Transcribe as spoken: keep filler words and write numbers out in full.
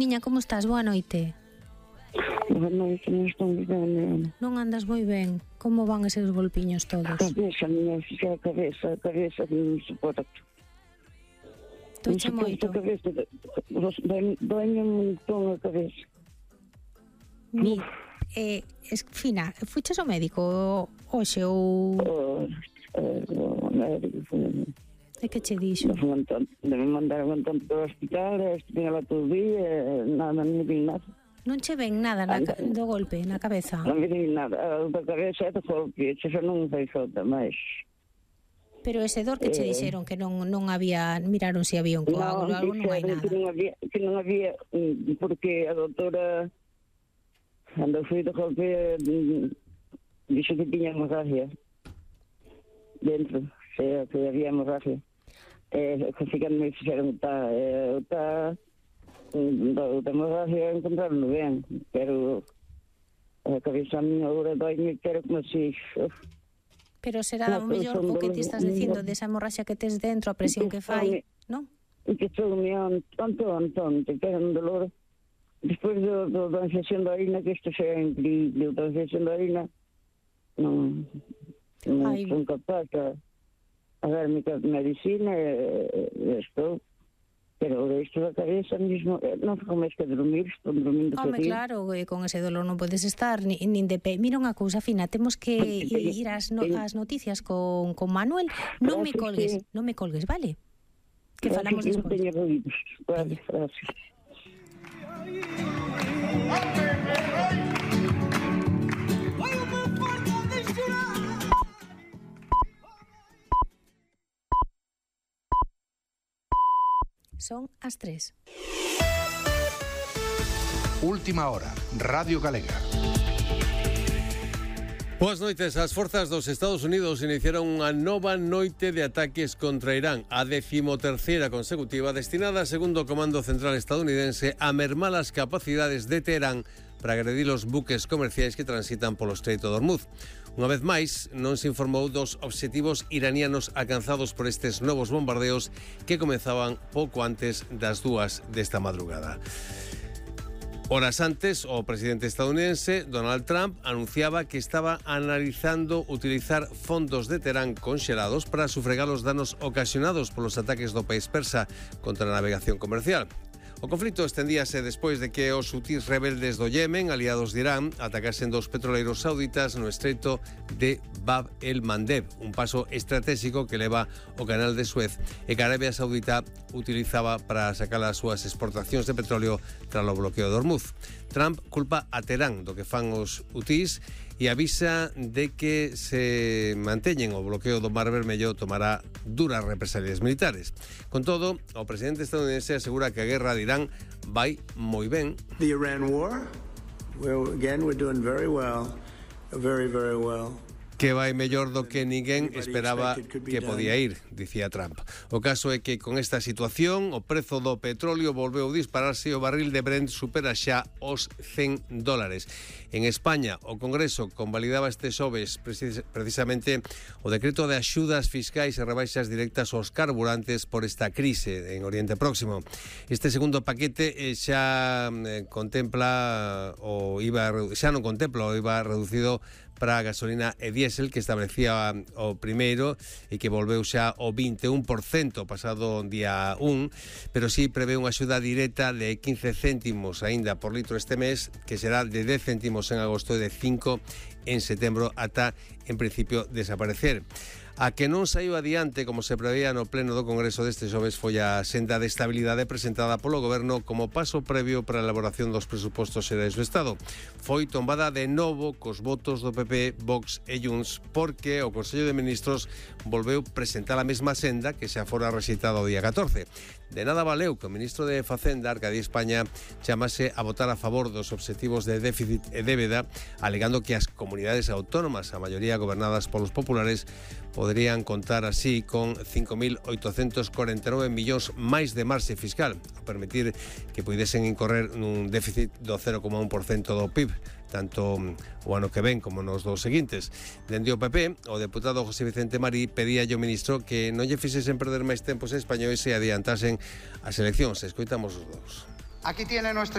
Niña, como estás? Boa noite. Boa noite, non estou moi ben. Non andas moi ben. Como van eses golpiños todos? Cabeza, miña filla, cabeza, cabeza, non suporto. Toiche moito. Cabeza, doña un montón a cabeza. Mi, eh, es, Fina, fuches ao médico hoxe ou... O médico, E que che dixo? Debe mandar un montón para o hospital, estive lá todo o día, nada, non vi nada. Non che ven nada na, do golpe, na cabeza? Non vi nada, da cabeza é do golpe, xa non fai falta máis. Pero ese dor que che dixeron que non non había, miraron se había un coágulo, algo non hai nada. Que non había, que non había, porque a doutora, cando foi do golpe, dixo que tiña hemorragia dentro, que había hemorragia. Eh, que sí que me fixeron está, eh, está, da hemorragia encontraron ben, pero a cabeza a miña agora dói-me, pero como se... Pero será o mellor o que ti estás dicindo desa hemorraxia que tes dentro, a presión que fai, non? E que estou meando tanto, tanto, te queda un dolor. Despois do, do, da infección da orina, que isto xa é increíble, da infección da orina, non, non son capaz a, a darme medicina, e, e estou... Pero isto da cabeza mismo, non fico máis que dormir, estou dormindo todo. Home, claro, con ese dolor non podes estar ni, nin de pé. Mira unha cousa, Fina, temos que ir ás, no, ás noticias con, con Manuel. Non me colgues, non me colgues, vale? Que falamos despois. Teño ruidos. Vale, gracias. Son as tres. Última hora, Radio Galega. Boas noites. As forzas dos Estados Unidos iniciaron unha nova noite de ataques contra Irán, a decimoterceira consecutiva, destinada, segundo o Comando Central estadounidense, a mermar as capacidades de Teherán para agredir os buques comerciais que transitan polo Estreito de Hormuz. Unha vez máis, non se informou dos obxectivos iranianos alcanzados por estes novos bombardeos que comenzaban pouco antes das dúas desta madrugada. Horas antes, o presidente estadounidense, Donald Trump, anunciaba que estaba analizando utilizar fondos de Teherán conxelados para sufragar os danos ocasionados polos ataques do país persa contra a navegación comercial. O conflito estendíase despois de que os hutís rebeldes do Yemen, aliados de Irán, atacasen dos petroleiros sauditas no estreito de Bab el-Mandeb, un paso estratégico que leva o canal de Suez e que a Arabia Saudita utilizaba para sacar as súas exportacións de petróleo tras o bloqueo de Hormuz. Trump culpa a Teherán do que fan os hutís e avisa de que se manteñen o bloqueo do Mar Vermello tomará duras represalias militares. Con todo, o presidente estadounidense asegura que a guerra de Irán vai moi ben. The Iran war, well, again, we're doing very well, very, very well. Que vai mellor do que ninguén esperaba que podía ir, dicía Trump. O caso é que con esta situación o prezo do petróleo volveu dispararse e o barril de Brent supera xa os cen dólares. En España, o Congreso convalidaba este xoves precisamente o decreto de axudas fiscais e rebaixas directas aos carburantes por esta crise en Oriente Próximo. Este segundo paquete xa contempla o I V A, xa non contempla o I V A reducido para a gasolina e diésel que establecía o primeiro e que volveu xa o vinte e un por cento pasado día un, pero sí prevé unha axuda directa de quince céntimos aínda por litro este mes, que será de dez céntimos en agosto e de cinco en setembro ata, en principio, desaparecer. A que non saiu adiante, como se preveía no pleno do Congreso deste xoves, foi a senda de estabilidade presentada polo Goberno como paso previo para a elaboración dos presupostos xerais do Estado. Foi tombada de novo cos votos do P P, Vox e Junts, porque o Consello de Ministros volveu presentar a mesma senda que xa fora rexeitada o día catorce. De nada valeu que o ministro de Facenda, Arcadi España, chamase a votar a favor dos obxectivos de déficit e débeda, alegando que as comunidades autónomas, a maioría gobernadas polos populares, poderían contar así con cinco mil oitocentos corenta e nove millóns máis de marxe fiscal, a permitir que puidesen incorrer nun déficit do cero coma un por cento do P I B, tanto o ano que ven como nos dos seguintes. Dende o P P, o deputado José Vicente Marí pedía ao ministro que non lle fixesen perder máis tempos españois e adiantasen as eleccións. Escoitamos os dous. Aquí tiene nuestro